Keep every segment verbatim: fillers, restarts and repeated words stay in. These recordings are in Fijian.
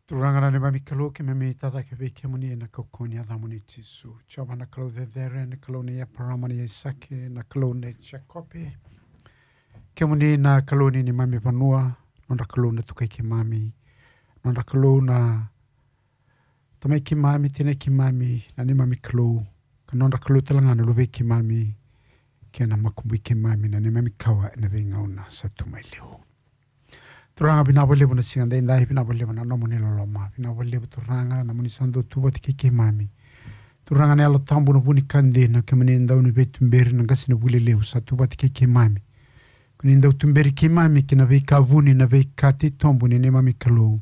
Turaga na neimami Kalou, keimami tacake vei kemuni ena kaukauwa ni yacamuni Jisu. Jiova na Kalou cecere, na Kalou nei Eparama, nei Aisake, na Kalou nei Jekope. Kemuni na Kalou ni neimami vanua, nodra Kalou na tukai keimami, nodra Kalou na tamai keimami, tinai keimami, na neimami Kalou, ka nodra Kalou tale ga na luvei keimami, kei na makubui keimami, na neimami kawa ena veigauna sa tu mai liu. Turaga, vinaka vakalevu na siga daidai, vinaka vakalevu na nomuni loloma, vinaka vakalevu Turaga na nomuni sa dau tu vata kei keimami. Turaga na Yalo Tabu, na vu ni ka dina, kemuni dau ni veituberi, na qase ni vuli levu sa tu vata kei keimami. Ko ni dau tuberi keimami ki na veika vuni, na veika titobu ni neimami Kalou,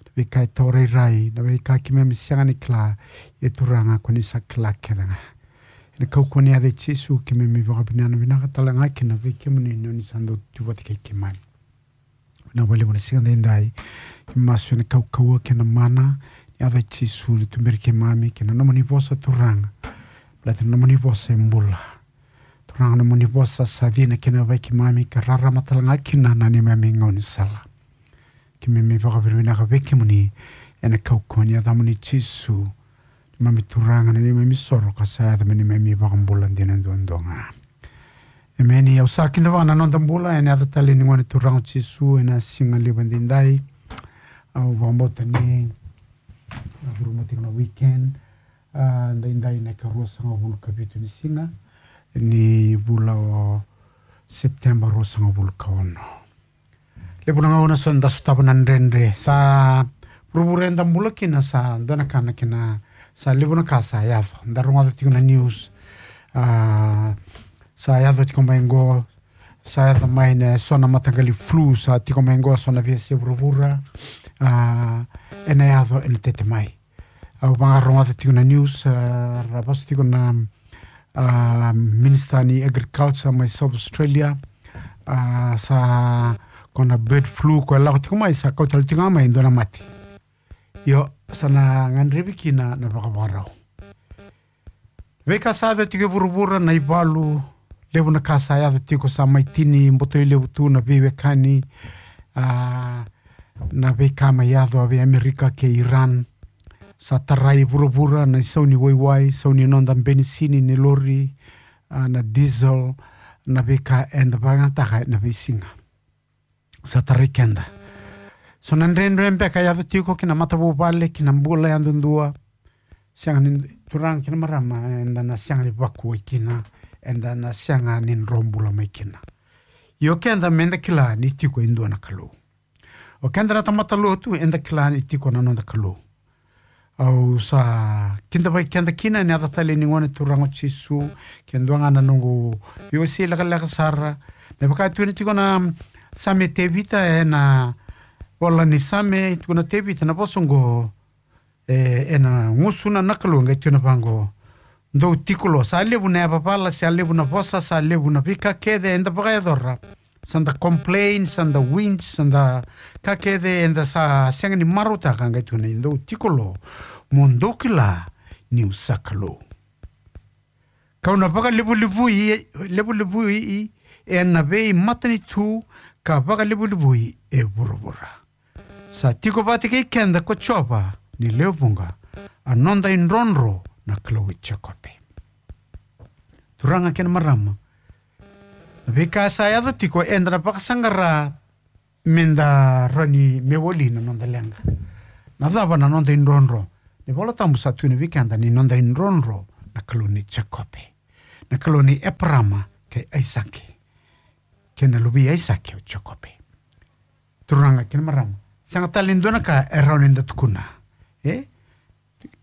na veika e tawa rairai, na veika keimami sega ni kila, ia Turaga ko ni sa kila kece ga. Ena kaukauwa ni yaca i Jisu keimami vakavinavinaka tale ga kina vei kemuni ni oni sa dau tu vata kei keimami. Vinaka vakalevu na siga daidai. Keimami masu ena kaukauwa kei na mana ni yaca i Jisu, ni tuberi keimami kei na nomuni vosa Turaga. Baleta na nomuni vosa e bula. Turaga, na nomuni vosa sa cina kina vei keimami ka rarama tale ga kina na neimami gaunisala. Keimami vakavinavinaka vei kemuni ena kaukauwa ni yacamuni Jisu, neimami Turaga, na neimami soro ka sa yaco me neimami vakabula dina duadua ga. Emeni. Au sa kidavaka na noda bula ena yaca talei ni Gone Turaga o Jisu ena siga levu daidai. Au vakabauta ni na curuma tiko na weekend, a, daidai na ikaruasagavulu ka vitu ni siga ni vula o September, ruasagavulu ka ono. Levu na gauna sa da sotava na dredre. Sa vuravura eda bula kina sa dua na ka na kena, sa levu na ka sa yaco. Da rogoca tiko na news. A, sa yaco tiko mai qo, sa yaco mai na so na mataqali flu, sa tiko mai qo so na veiyasai vuravura. A, ena yaco, ena tete mai. Au vakarogoca tiko na news, a, ra vosa tiko na, a, Minister ni Agriculture mai South Australia. A, sa ko na bird flu ko e lako tiko mai, sa kau tale tiko ga mai e dua na mate. Io, sa na gadrevi kina na vakavakarau. Veika sa yaco tiko e vuravura, na ivalu, levu na ka sa yaco tiko, sa mai tini botoi levu tu na veiwekani, a, na veika mai yaco vei Amerika kei Iran. Sa tarai vuravura na isau ni waiwai, sau ni noda benisini ni lori, a, na diesel, na veika eda vakayagataka ena veisiga. Sa tarai keda. So na dredre beka e yaco tiko ki na matavuvale, ki na bula yadudua. Sega ni, turaga kei na marama, eda na sega ni vakuwai kina, eda na sega ni dro bula mai kina. Io keda meda kila ni tiko e dua na Kalou. O keda na tamata lotu, eda kila ni tiko na noda Kalou. Au sa kidavaki keda kina ena yaca talei ni Gone Turaga o Jisu, ke dua ga na noqu veiwasei lekaleka sara. Me vaka e tukuna tiko na Same, Tevita ena vola ni Same, tukuna o Tevita na vosa oqo, e, ena gusuna na Kalou, qai tukuna vaqo: Dou tiko lo, sa levu na yavavala, sa levu na vosa, sa levu na veika kece eda vakayacora. Sa da complain, sa da whinge, sa da ka kece eda sa sega ni marautaka, qai tukuna: Dou tiko lo, mo dou kila niu sa Kalou. Kau na vakalevulevui, levulevui ena veimatanitu, ka vakalevulevui e vuravura. Sa tiko vata kei keda ko Jiova ni lewe vuqa, a noda idrodro, na Kalou i Jekope. Turaga kei na marama, na veika sa yaco tiko eda na vakasaqara meda rawa ni me wali na noda leqa. Na cava na noda idrodro? Na iVola Tabu sa tukuna vei keda ni noda idrodro na Kalou nei Jekope, na Kalou nei Eparama kei Aisake, kei na luve i Aisake o Jekope. Turaga kei na marama, sega tale ni dua na ka e rawa ni da tukuna. E?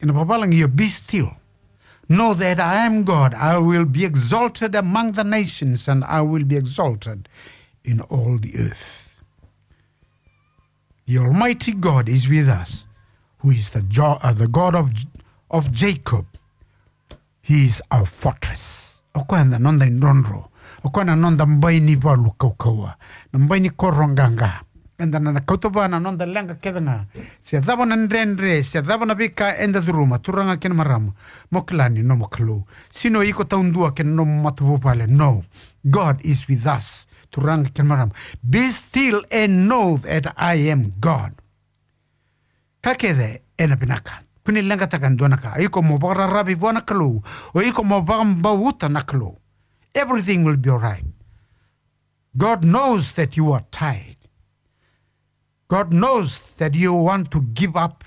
Ena vakavalagi, io, be still. Know that I am God. I will be exalted among the nations, and I will be exalted in all the earth. The Almighty God is with us, who is the, Jo- uh, the God of, of Jacob. He is our fortress. O koya na noda idrodro. O koya na noda bai ni valu kaukauwa, na bai ni koro qaqa. Eda na kauta vua na noda leqa kece ga. Se cava na dredre, se cava na veika eda curuma, turaga kei na marama, mo kila ni nomu Kalou. Sega ni o iko taudua kei na nomu matavuvale. No. God is with us. Turaga kei na marama, be still and know that I am God. Ka kece ena vinaka. Kua ni leqataka e dua na ka. O iko mo vakararavi vua na Kalou. O iko mo vakabauta na Kalou. Everything will be all right. God knows that you are tired. God knows that you want to give up.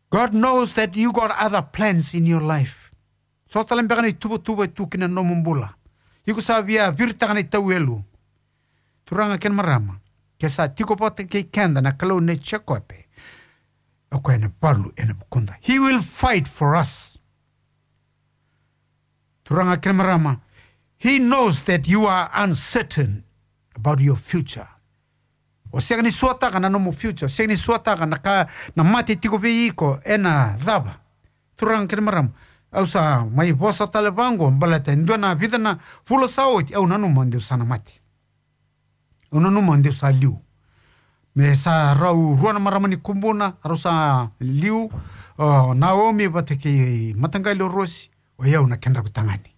God knows that you got other plans in your life. So tale beka na ituvatuva e tu kina nomu bula. Iko sa via viritaka na itauelu. Turaga kei na marama, ke sa tiko vata kei keda na Kalou nei Jekope, o koya ena valu ena vukuda. He will fight for us. Turaga kei na marama, he knows that you are uncertain about your future. O sega ni suataka na nomu future, o sega ni suataka na ka, na mate tiko vei iko ena cava. Turaga kei na marama, au sa mai vosa tale vaqo baleta e dua na vica na vula sa oti, au nanuma de'u sa na mate. Au nanuma de'u sa liu. Me sa rau rua na marama ni Kubuna, rau sa liu, o Naomi vata kei mataqali o Rosi, o yau na kedrau tagane.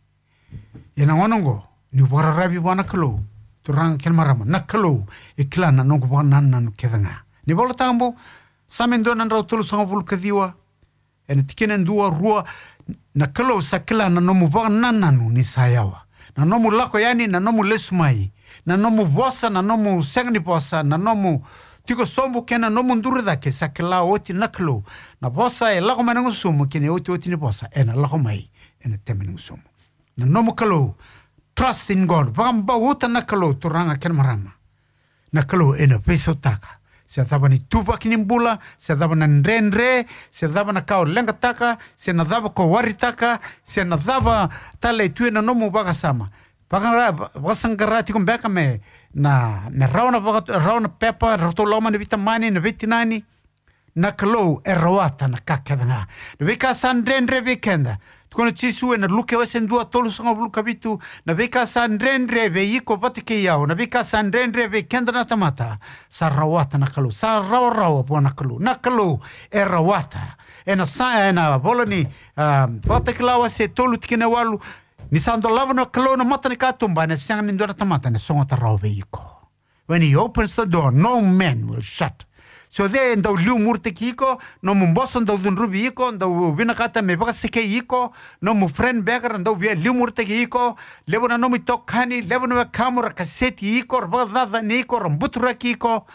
Ia na gauna oqo, ni'u vakararavi vua na Kalou, turaga kei na marama, na Kalou e kila na noqu vakanananu kece ga. Ni Vola Tabu, Same dua na drau tolusagavulu ka ciwa, ena tikina e dua, rua, na Kalou sa kila na nomu vakanananu ni sa yawa. Na nomu lako yani, na nomu lesu mai, na nomu vosa, na nomu sega ni vosa, na nomu tiko sobu kei na nomu duri cake, sa kila oti na Kalou. Na vosa e lako mai na gusumu, kei na iotioti ni vosa ena lako mai ena tebe ni gusumu. Na nomu Kalou, trust in God, vakabauta na Kalou, turaga kei na marama. Na Kalou ena veisautaka se cava na ituvaki ni bula, se cava na dredre, se cava na ka o leqataka, se na cava ko waritaka, se na cava tale e tu ena nomu vakasama. Vakara-, vakasaqara tiko beka me na, me rawa na vaka-, rawa na pepa, ratou lako mai na veitamani, na veitinani. Na Kalou e rawata na ka kece ga. Na veika sa dredre vei keda. Tukuna o Jisu ena Luke wase dua, tolusagavulu ka vitu, na veika sa dredre vei iko vata kei au, na veika sa dredre vei keda na tamata, sa rawata na Kalou, sa rawarawa vua na Kalou. Na Kalou e rawata. Ena sa, ena vola ni, ah, Vakatakila wase tolu tikina e walu, ni sa dolava na Kalou na mata ni katuba, ena sega ni dua na tamata ena sogota rawa vei iko. When he opens the door, no man will shut. So e dau liumuritaki iko, nomu boso dau cudruvi iko, dau vinakata me vakasekei iko, nomu friend beka ra dau via liumuritaki iko, levu na nomu itokani, levu na wekamu ra kaseti iko, ra vakacacani iko, ra buturaki iko.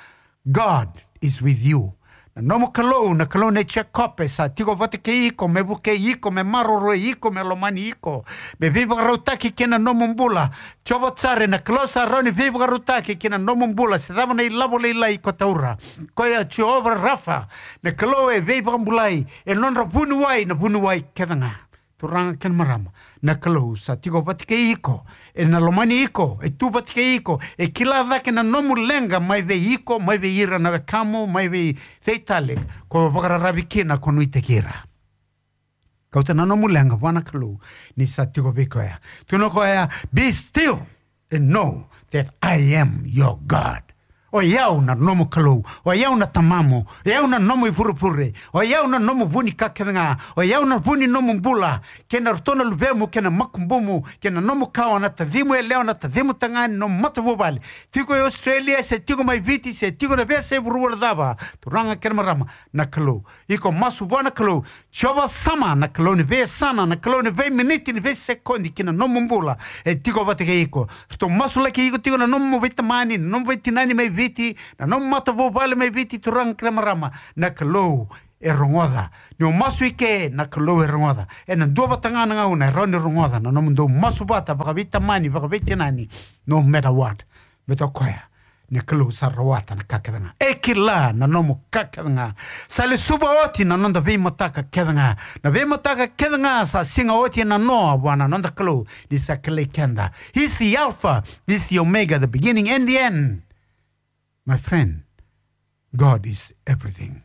God is with you. Na nomu Kalou, na Kalou nei Jekope, sa tiko vata kei iko, me vukei iko, me maroroi iko, me lomani iko, me veivakarautaki kei na nomu bula. Jeova Jire, na Kalou sa rawa ni veivakarautaki kei na nomu bula, se cava na ilavo lailai iko taura. Koya Jeova Rafa, na Kalou e veivakabulai, e nodra vuniwai na vuniwai kece ga. Turaga kei na marama, na Kalou sa tiko vata kei iko, ena lomani iko, e tu vata kei iko, e kila cake na nomu leqa mai vei iko, mai vei ira na wekamu, mai vei cei tale ko vakararavi kina, ko nuitaki ira. Kauta na nomu leqa vua na Kalou, ni sa tiko vei koya. Tukuna o koya, be still and know that I am your God. O yau na nomu Kalou, o yau na tamamu, o yau na nomu ivurevure, o yau na nomu vu ni ka kece ga, o yau na vu ni nomu bula, kei na ratou na luvemu, kei na makubumu, kei na nomu kawa, na tacimu yalewa, na tacimu tagane, nomu matavuvale. Tiko e Australia, se tiko mai Viti, se tiko na veiyasai vuravura cava, turaga kei na marama, na Kalou. Iko masu vua na Kalou, Jeova Sama, na Kalou ni veiyasana, na Kalou ni veiminiti, ni veisekodi ki na nomu bula, e tiko vata kei iko. Ratou masulaki iko tiko na nomu veitamani, na nomu veitinani mai Viti, na nomu matavuvale mai Viti, turaga kei na marama, na Kalou e rogoca. Ni o masu i ke, na Kalou e rogoca. Ena dua vata ga na gauna e rawa ni rogoca na nomudou masu vata vakaveitamani, vakaveitinani, no matter what. Baleta o koya na Kalou sa rawata na ka kece ga. E kila na nomu ka kece ga. Sa lesuva oti na noda veimataka kece ga. Na veimataka kece ga sa siga oti ena noa vua na noda Kalou, ni sa kilai keda. He's the Alpha, he's the Omega, the beginning and the end. My friend, God is everything.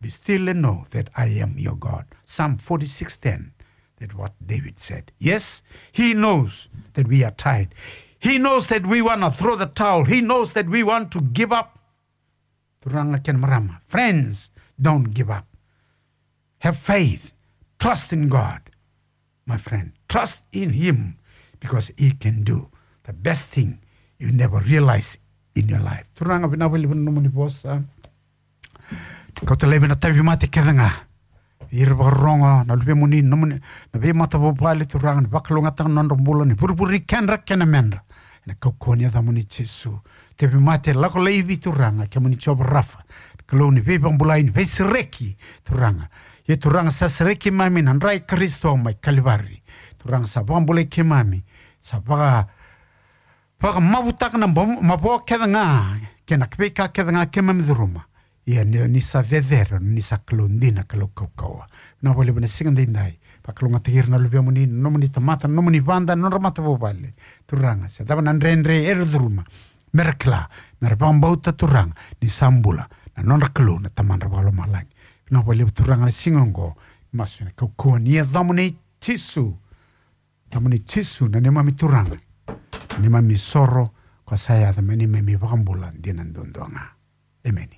Be still and know that I am your God. Psalm forty-six ten, that what David said. Yes, he knows that we are tired. He knows that we wanna throw the towel. He knows that we want to give up. Turaga kei na marama. Friends, don't give up. Have faith. Trust in God. My friend, trust in him because he can do the best thing you never realize in your life. Turaga, vinaka vakalevu na nomuni vosa. Kauta laivi na tauvimate kece ga. Ira vakarorogo, na luvemuni, nomuni, na veimatavuvale Turaga, ni vakalougatataka na nodra bula, ni vurevure kedra kei na medra. Ena kaukauwa ni yacamuni Jisu. Tauvimate lako laivi Turaga, kemuni Jiova Rafa. Kalou ni veivakabulai, ni veisereki Turaga. Ia Turaga sa sereki keimami na dra i Karisito mai Kalivari. Turaga sa vakabulai keimami. Sa vaka vakamavutaka na bo-, mavoa kece ga, kei na veika kece ga keimami curuma. Ia ni, ni sa cecere, ni sa Kalou dina, Kalou kaukauwa. Vinaka vakalevu ena siga daidai. Vakalougatataki ira na luvemuni, nomuni tamata, nomuni vada, nodra matavuvale. Turaga, se cava na dredre era curuma. Mera kila, mera vakabauta Turaga, ni sa bula, na nodra Kalou, na Tamadra vakalomalagi. Vinaka vakalevu Turaga na siga oqo, masu ena kaukauwa ni yacamuni Jisu. Yacamuni Jisu na neimami Turaga, na neimami soro, ko sa yaco me neimami vakabula dina duadua ga. Emeni.